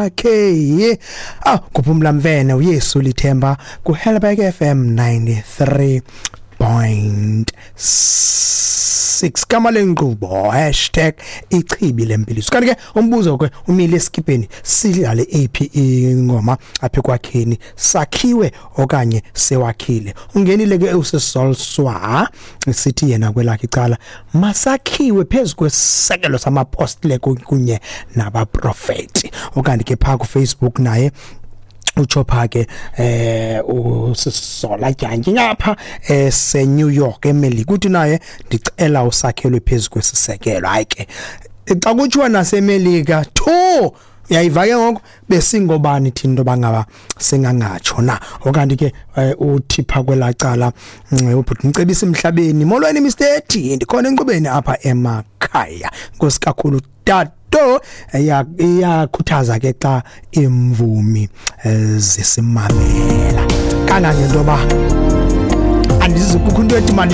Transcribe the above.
kwakhe. Ah, kuphumla mvene uYesu lithemba ku Helberg FM 93.6 kama lenkqubo #ichibi lempiliso. Kanti ke umbuzo ke umile esikipeni, sidlale ephi ingoma apha ekwakheni, sakhiwe okanye sewakhile? Ungenile ke usisolswa, sithi yena kwelakhe icala masakhiwe phezu kwesisekelo samapostile kunye nabaprofeti. Okanti ke phaa kuFacebook naye utsho pha ke usisola dyantyi ngapha ese New York eMelika, uthi naye ndicela usakhelwe phezu kwesisekelo. Hayi ke, xa kutshiwa naseMelika 2, uyayiva ke ngoku, besingobani thina into bangaba singangatsho na? Okanti ke uthi pha kwelacala ubhuti Mcebisi emhlabeni, molweni Mr T, ndikhona enkqubeni apha emakhaya, nkosi kakhulu tato. Iyakhuthaza ke xa imvumi zisimamela kangangento ba andizikukho into ethi mani.